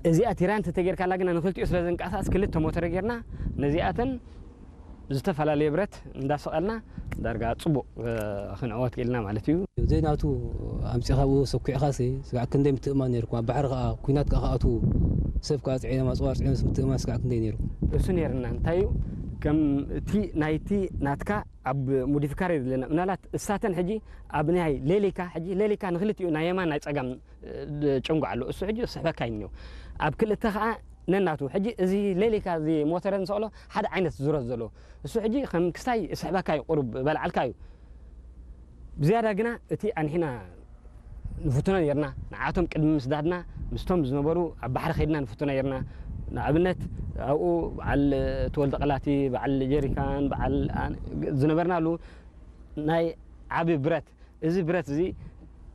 እዚኣ ቲራን ተተጌርካላ ግና ንክልቲኡ ስለ ዘንቀሳቀስ ክልተ ሞተር ጌርና ነዚኣተን ዝተፈላለየ ብረት እንዳሰቐልና ዳርጋ ጽቡቕ ክንዕወት ክኢልና ማለት እዩ። ዘይናቱ ኣምጺኻ ብኡ ሰኲዕኻሲ ስጋዕ ክንደይ ምትእማን ነይርኩም። ኣብ ባሕሪ ከኣ ኲናት ከኣ ክኣትዉ ሰብ ከኣ ጽዒኖም ኣጽዋር ጽዒኖም ምትእማን ስጋዕ ክንደይ ነይርኩም። እሱ ነይርና እንታይ እዩ ከም እቲ ናይቲ ናትካ ኣብ ሞዲፊካር እዩ ዘለና ምናልባት እሳተን ሕጂ ኣብ ናይ ሌሊካ ሕጂ ሌሊካ ንክልቲኡ ናይ የማን ናይ ጸጋም ጭንጓ ኣሎ እሱ ሕጂ ስሕበካ እዩ ኣብ ክልተ ከዓ ነናቱ ሕጂ እዚ ሌሊካ እዚ ሞተረ ንሰቕሎ ሓደ ዓይነት ዙረት ዘለዎ እሱ ሕጂ ከም ክስታይ ስሕበካ እዩ ቁሩብ በልዓልካ እዩ ብዝያዳ ግና እቲ ኣንሒና ንፍትኖ ነርና ንዓቶም ቅድሚ ምስዳድና ምስቶም ዝነበሩ ኣብ ባሕሪ ከይድና ንፍትኖ ነርና ንኣብነት ኣብኡ በዓል ተወልደ ቀላቲ በዓል ጀሪካን በዓል ዝነበርናሉ ናይ ዓቢ ብረት እዚ ብረት እዚ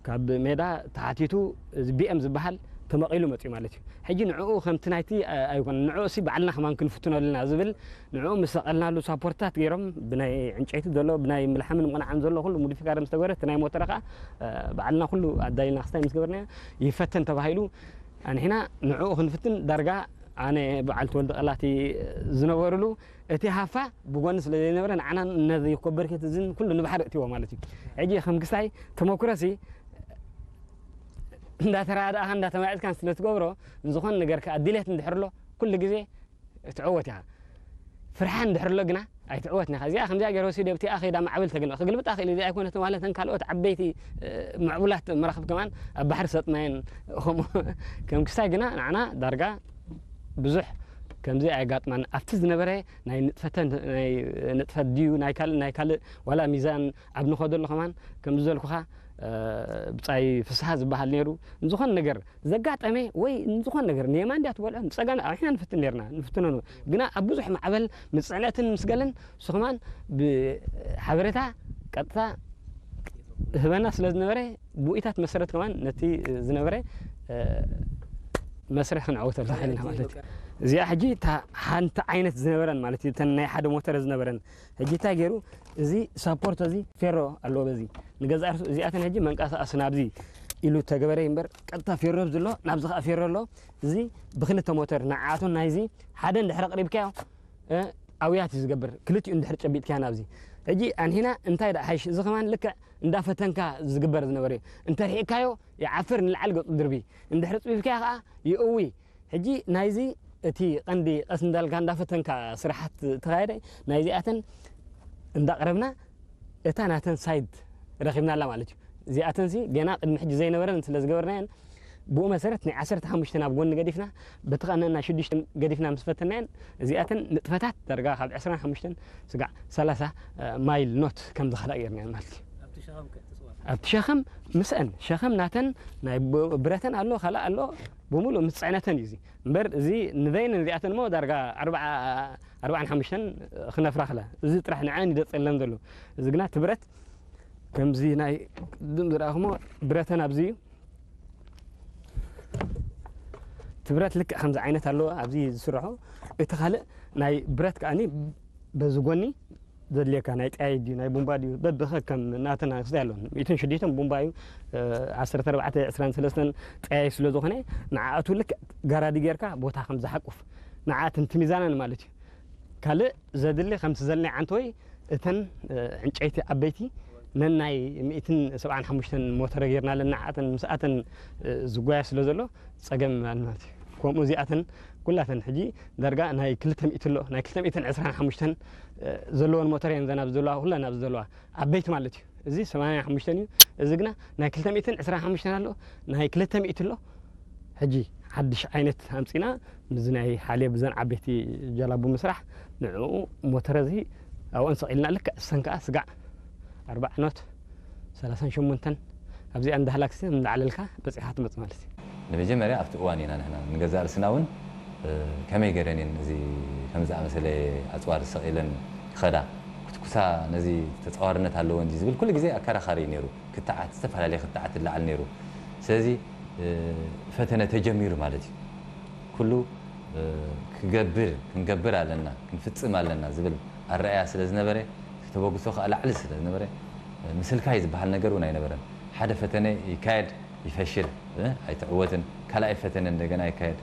ካብ ሜዳ ተሓቲቱ እዚ ቢኤም ዝበሃል ተመቒሉ መፅዩ ማለት እዩ። ሕጂ ንዕኡ ከምቲ ናይቲ ኣይኮነን ንዕኡ እሲ ባዕልና ከማን ክንፍትኖ ኣለና ዝብል ንዕኡ ምስ ሰቐልናሉ ሳፖርትታት ገይሮም ብናይ ዕንጨይቲ ዘሎ ብናይ ምልሓምን ምቕናዕን ዘሎ ኩሉ ሙዲፊካር ምስ ተገበረ እቲ ናይ ሞተረ ከዓ ባዕልና ኩሉ ኣዳሊና ክስታይ ምስ ገበርናዮ ይፈተን ተባሂሉ ኣንሒና ንዕኡ ክንፍትን ዳርጋ ኣነ በዓል ተወልደ ቀላቲ ዝነበሩሉ እቲ ሃፋ ብጎኒ ስለ ዘይነበረ ንዓና ነዚ ኮበርኬት እዝን ኩሉ ንባሕሪ እትዎ ማለት እዩ ሕጂ ከም ክስታይ ተመኩረሲ እንዳተረዳእኻን እንዳተማየጥካን ስለ ትገብሮ ንዝኾነ ነገር ከዓ ድሌት እንድሕር ኣሎ ኩሉ ግዜ ትዕወት ኢኻ ፍርሓ እንድሕር ኣሎ ግና ኣይትዕወትን ኢኻ እዚኣ ከምዚኣ ገይረ ወሲደ ብቲኣ ከይዳ ማዕበል ተግልበ ክግልብጣ ክእል እዚ ኣይኮነትን ዋለተን ካልኦት ዓበይቲ ምዕቡላት መራኽብ ከማን ኣብ ባሕሪ ሰጥማየን ከምኡ ከም ክስታይ ግና ንዓና ዳርጋ ብዙሕ ከምዚ ኣየጋጥማን ኣብቲ ዝነበረ ናይ ንጥፈተን ናይ ንጥፈት ድዩ ናይ ካልእ ናይ ካልእ ዋላ ሚዛን ኣብ ንኸደሉ ከማን ከምዚ ዘልኩኻ ብጻይ ፍስሃ ዝበሃል ነይሩ ንዝኾነ ነገር ዘጋጠመ ወይ ንዝኾነ ነገር ንየማን ድያ ትበልዖ ንጸጋም ኣሕና ንፍትን ነርና ንፍትኖ ግና ኣብ ብዙሕ ማዕበል ምስ ጽዕነትን ምስ ገለን ንሱ ከማን ብሓበሬታ ቀጥታ ህበና ስለ ዝነበረ ብኡኢታት መሰረት ከማን ነቲ ዝነበረ መስርሕ ክንዕወተሉ ክኢልና ማለት እዩ እዚኣ ሕጂ እታ ሓንቲ ዓይነት ዝነበረን ማለት እዩ እተን ናይ ሓደ ሞተረ ዝነበረን ሕጂ እንታይ ገይሩ እዚ ሳፖርት እዚ ፌሮ ኣለዎ በዚ ንገዛእ ርእሱ እዚኣተን ሕጂ መንቀሳቀሲ ናብዚ ኢሉ ተገበረ እምበር ቀጥታ ፌሮ ኣብዚ ኣሎ ናብዚ ከዓ ፌሮ ኣሎ እዚ ብክልተ ሞተር ንዓኣቱን ናይዚ ሓደ እንድሕር ኣቅሪብካዮ ኣውያት እዩ ዝገብር ክልቲኡ እንድሕር ጨቢጥካዮ ናብዚ ሕጂ ኣንሂና እንታይ ደኣ ሓይሽ እዚ ከማን ልክዕ እንዳፈተንካ ዝግበር ዝነበረ እዩ እንተርሒቅካዮ ይዓፍር ንላዕሊ ገፁ ድርቢ እንድሕር ፅቢብካዮ ከዓ ይእዊ ሕጂ ናይዚ እቲ ቀንዲ ቀስ እንዳልካ እንዳፈተንካ ስራሓት ተኻየደ ናይዚኣተን እንዳቕረብና እታ ናተን ሳይድ ረኺብናላ ማለት እዩ እዚኣተንሲ ገና ቅድሚ ሕጂ ዘይነበረን ስለ ዝገበርናየን ብኡ መሰረት ናይ ዓሰርተ ሓሙሽተ ናብ ጎኒ ገዲፍና በቲ ኸነና ሽዱሽተ ገዲፍና ምስ ፈተናየን እዚኣተን ንጥፈታት ዳርጋ ካብ ዕስራን ሓሙሽተን ስጋዕ ሰላሳ ማይል ኖት ከም ዝኸዳ ጌርናየን ማለት እዩ ኣብቲ ሸኸም ምስአን ሸኸም ናተን ናይ ብረተን ኣሎ ካልእ ኣሎ ብምሉእ ምስ ፅዕነተን እዩ እዚ እምበር እዚ ንበይነን እዚኣተን ሞ ዳርጋ ኣርባዓ ኣርባዓን ሓሙሽተን ክነፍራ ክላ እዚ ጥራሕ ንዐን ይደፀለን ዘሎ እዚ ግና እቲ ብረት ከምዚ ናይ ቅድም ዝረኣኹሞ ብረተን ኣብዚ እዩ እቲ ብረት ልክዕ ከምዚ ዓይነት ኣለዎ ኣብዚ ዝስርሖ እቲ ካልእ ናይ ብረት ከዓኒ በዚ ጎኒ ዘድልየካ ናይ ጠያይ ድዩ ናይ ቡምባ ድዩ በብኸ ከም ናተና ክስታይ ኣለዎ ሚእትን ሽዱሽተን ቡምባ እዩ ዓሰርተ ኣርባዕተ ዕስራን ሰለስተን ጠያይ ስለ ዝኾነ ንዓኣቱ ልክዕ ጋራዲ ጌርካ ቦታ ከም ዝሓቁፍ ንዓኣትን ትሚዛናን ማለት እዩ ካልእ ዘድሊ ከምቲ ዘልናይ ዓንተወይ እተን ዕንጨይቲ ዓበይቲ ነናይ ሚእትን ሰብዓን ሓሙሽተን ሞተረ ጌርናለን ንዓኣተን ምስኣተን ዝጓያ ስለ ዘሎ ጸገም ኣልናት ከምኡ እዚኣተን ኩላተን ሕጂ ዳርጋ ናይ ክልተ ሚእቲ ኣሎ ናይ ክልተ ሚእትን ዕስራን ሓሙሽተን ዘለወን ሞተር እየን ዘን ኣብዚ ዘለዋ ኩለን ኣብዚ ዘለዋ ዓበይቲ ማለት እዩ እዚ ሰማንያን ሓሙሽተን እዩ እዚ ግና ናይ ክልተ ሚእትን ዕስራን ሓሙሽተን ኣሎ ናይ ክልተ ሚእቲ ኣሎ ሕጂ ሓድሽ ዓይነት ኣምፂና ምዚ ናይ ሓልየ ብዘን ዓበይቲ ጀላቡ ምስራሕ ንዕኡ ሞተረ እዚ ኣብኦን ሰቒልና ልክዕ እሰን ከዓ ስጋዕ ኣርባዕኖት ሰላሳን ሸሞንተን ኣብዚኣ እንዳሃላክሲ እንዳዓለልካ በፂሓ ትመፅ ማለት እዩ ንመጀመርያ ኣብቲ እዋን ኢና ንሕና ንገዛእ ርስና እውን ከመይ ገረን እየን እዚ ከም ዝኣመሰለ ኣፅዋር ዝሰቕ ኢለን ይኸዳ ክትኩሳ ነዚ ተፃዋርነት ኣለዎ እንጂ ዝብል ኩሉ ግዜ ኣከራኻሪ እዩ ነይሩ ክትዓት ዝተፈላለየ ክትዓት ይለዓል ነይሩ ስለዚ ፈተነ ተጀሚሩ ማለት እዩ ኩሉ ክገብር ክንገብር ኣለና ክንፍፅም ኣለና ዝብል ኣረኣያ ስለ ዝነበረ ተበግሶ ከዓ ላዕሊ ስለ ዝነበረ ምስልካይ ዝበሃል ነገር እውን ኣይነበረን ሓደ ፈተነ ይካየድ ይፈሽል ኣይትዕወትን ካልኣይ ፈተነ እንደገና ይካየድ